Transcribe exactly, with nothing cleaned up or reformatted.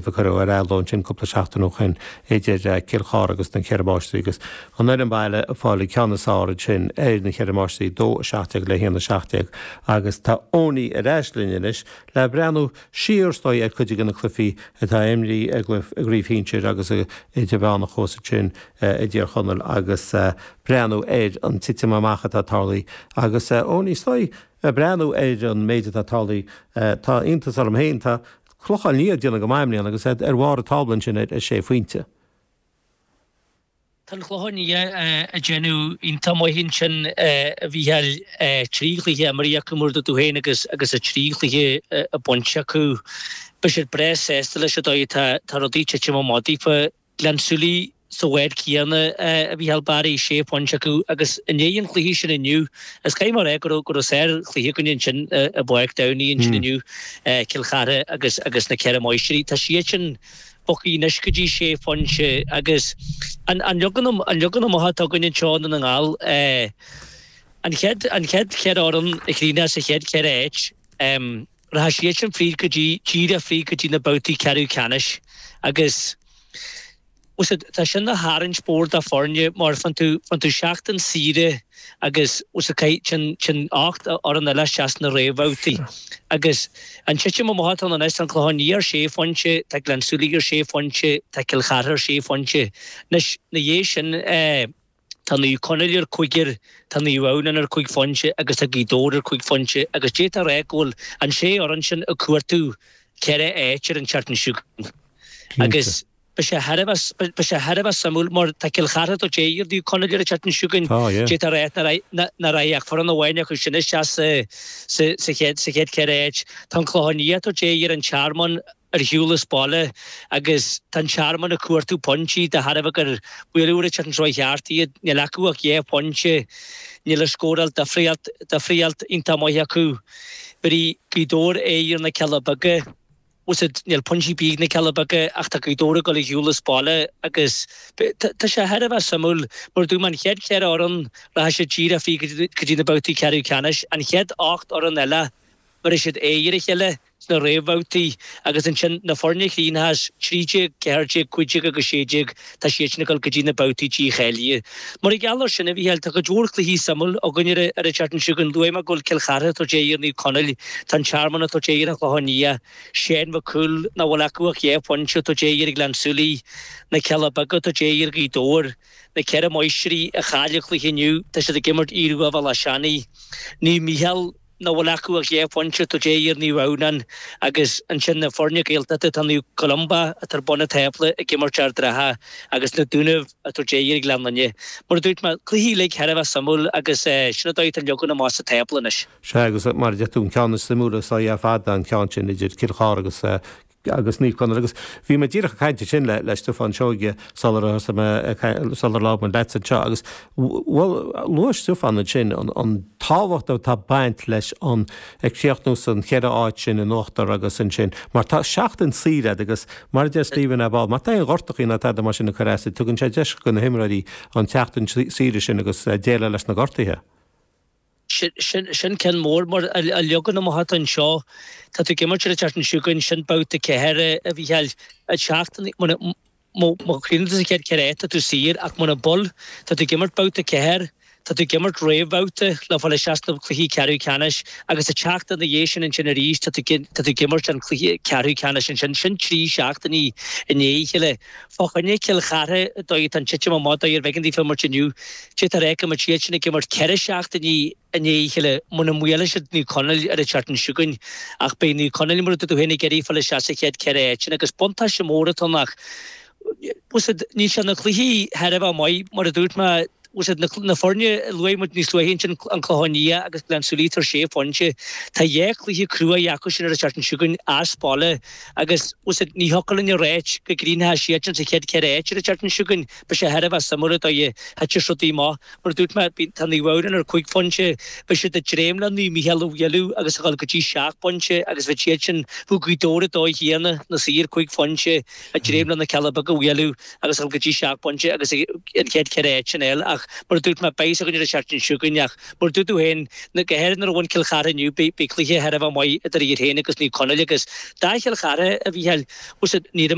a cuireadh ar athló ansin cúpla seachtain ó shin idir Cill Chartha agus na Ceithre Máistrí agus an fhoireann baile ag fáil an ceann is fearr ansin ar na Ceithre Máistrí dó a seacht déag le haon a seacht déag agus tá Owenie ar ais linn anois le breathnú siar is dóigh ar chuid de na cluichí atá imrithe i gcraobh shinsir agus idirmheánach thuas ansin i dTír Chonaill agus breathnú ar an titim amach atá tarlaithe agus Owenie is dóigh breathnú ar an méid atá tarlaithe tá iontas orm féin tá Clochán Liath ag déanamh go maith i mbliana agus ar bharr an tábla ansin ar sé phointe. Tá an Clochán Liath ag déanamh iontach maith ansin a Mhícheáil trí chluiche imeartha acu mar a dúirt tú féin agus agus a trí chluiche bainte acu. Beidh siad breá sásta leis an dóigh atá tá rudaí ag titim amach daofa. Gleann tSúilí sa bhád céanna a Mhícheáil Barry, sé phointe acu agus i ndiaidh an chluiche sin inniu, is caithfidh mé a rá go raibh go raibh sár-chluiche againn ansin i bPáirc Downey ansin inniu, Cill Chartha agus agus na Ceithre Máistrí. Tá siad sin bogtha anois go dtí sé phointe agus an an leagan an leagan amach atá againn anseo i nDún na nGall, an chéad an chéad cheithre fhoireann a chríochnós sa chéad cheithre áit, rachaidh siad sin fríd go dtí díreach fríd go dtí na babhtaí ceathrú ceannais agus Bhuel tá sin ina tharraingt mhór do foirne mar faigheann tú faigheann tú seachtain saoire agus bhuel téann téann ocht fhoireann eile isteach sna réamhbhabhtaí. Agus an titim amach atá ann anois, tá an Clochán Liath ar sé phointe, tá Gleann tSúilí ar sé phointe, tá Cill Chartha ar sé phointe. Anois, ina dhiaidh sin, tá Naomh Conaill ar cúigear, tá Naomh Adhamhnáin ar cúig phointe agus tá Gaoth Dobhair ar cúig phointe agus d'fhéadfá a rá go bhfuil an sé fhoireann sin ag cuartú ceithre áit ar an tseachtain seo chugainn. Agus beidh sé thar a bheith, beidh sé thar a bheith suimiúil mar tá Cill Chartha ag tabhairt aghaidh ar Naomh Conaill ar an tseachtain seo chugainn. D'fhéadfá a rá nach raghaidh ach foireann amháin acu sin isteach sa, sa, sa chéad, sa chéad cheithre áit. Tá an Clochán Liath ag tabhairt aghaidh ar an Tearmann ar shiúl as baile agus tá an Tearmann ag cuartú pointí de thairbhe gur buaileadh ar an tseachtain seo thart iad. Níl acu ach dhá phointe. Níl an scóráil difríocht, difríocht iontach maith acu. Bhéarfaidh Gaoth Dobhair aghaidh ar na Cealla Beaga. Bhuel níl pointí ar bith ag na Cealla Beaga ach tá Gaoth Dobhair ag dul ar shiúl as baile agus tá sé thar a bheith suimiúil mar a dúirt mé an chéad cheithre fhoireann rachaidh siad díreach fríd go dtí na babhtaí ceathrú ceannais, an chéad ocht fhoireann eile bhéarfaidh siad aghaidh ar a chéile sna réamhbhabhtaí agus ansin na foirne a chríochnós trí déag, ceathair déag, cúig déag agus sé déag tá siad sin ag dul go dtí na babhtaí dícháilithe. Mar gheall air sin a Mhícheáil tá cuid mhór cluichí suimiúil againn ar an tseachtain seo chugainn. Luaigh mé go bhfuil Cill Chartha ag tabhairt aghaidh ar Naomh Conaill, tá an Tearmann ag tabhairt aghaidh ar an Chlochán Liath, Shane Mhic Cumhaill, nach bhfuil acu ach dhá phointe, ag tabhairt aghaidh ar Ghleann tSúilí, na Cealla Beaga ag tabhairt aghaidh ar Ghaoth Dobhair, na Ceithre Máistrí a chaill an cluiche inniu, tá siad ag imirt Aodh Rua Bhéal Átha Seanaidh, Naomh Mícheál, nach bhfuil acu ach dhá phointe, ag tabhairt aghaidh ar Naomh Adhamhnáin agus ansin na foirne Gaeltachta, tá Naomh Columba atá ar bun an tábla ag imirt Ard an Rátha agus na Dúnaibh ag tabhairt aghaidh ar Ghleann Fhinne. Mar a dúirt mé, cluichí uilig thar a bheith suimiúil agus sin an dóigh atá an leagan amach sa tábla anois. Sea, agus mar a deir tú, an ceann is suimiúla is dóigh ar fad ná an ceann sin idir Cill Chartha agus agus Naomh Conaill. Agus bhí mé díreach ag caint ansin le le Stiofán Seoige sular thosaigh mé sular labhair mé leatsa anseo agus bhuel luaigh Stiofán ansin an an tábhacht atá ag baint leis an ag críochnú san cheithre áit sin in uachtar agus ansin mar tá seachtain saoire agat agus mar a deir Stephen ar ball má tá aon ghortachaí ná tada mar sin ag cur as tugann sé deis do na himreoirí an tseachtain saoire sin agus déileáil leis na gortuithe. Sin ceann mór mar an leagan amach atá anseo, tá tú ag imirt ar an tseachtain seo chugainn, sin babhta ceathair a Mhícheáil, an tseachtain, má chríochnaíonn tú sa chéad cheithre áit tá tú saor ach muna bhfuil, tá tú ag imirt babhta ceathair, tá tú ag imirt réamhbhabhta le fáil isteach sna cluichí ceathrú ceannais agus an tseachtain ina dhiaidh sin ansin arís tá tú tá tú ag imirt an cluiche ceathrú ceannais ansin, sin trí seachtainí i ndiaidh a chéile. Fá choinne Cill Chartha, dóigh atá an titim amach, dóigh ar bheagán daofa imirt inniu, d'fhéadfá a rá go mbeadh siad sin ag imirt ceithre seachtainí i ndiaidh a chéile muna mbuailfidh siad Naomh Conaill ar an tseachtain seo chugainn. Ach beidh Naomh Conaill, mar a dúirt tú féin, ag iarraidh fáil isteach sa chéad cheithre áit sin agus buntáiste mór atá ann ach níl sé na cluichí thar a bheith maith, mar a dúirt mé, na foirne a luaigh muid níos luaithe ansin, an Clochán Liath agus Gleann tSúilí atá ar sé phointe. Tá dhá chluiche cruaidh acu sin ar an tseachtain seo chugainn as baile agus ní thiocfadh linn a ráit go gcríochnóidh siad sin sa chéad cheithre áit ar an tseachtain seo chugainn. Beidh sé thar a bheith suimiúil an dóigh a thitfeas rudaí amach. Mar a dúirt mé, tá Naomh Adhamhnáin ar cúig phointe, beidh siad ag dréim le Naomh Mícheál a bhualadh agus a dhul go dtí seacht bpointe agus bheadh siad sin, bheadh Gaoth Dobhair an dóigh chéanna, na saoir cúig phointe, ag dréim le na Cealla Beaga a bhualadh agus a dhul go dtí seacht bpointe agus an chéad cheithre áit sin a fháil. Ach ach mar a dúirt mé beidh a fhios againn ar an seachtain seo chugainn ach mar a dúirt tú féin go háirithe nuair a bhain Cill Chartha inniu beidh cluiche thar a bheith maith idir iad féin agus Naomh Conaill agus do Chill Chartha a Mhícheáil ní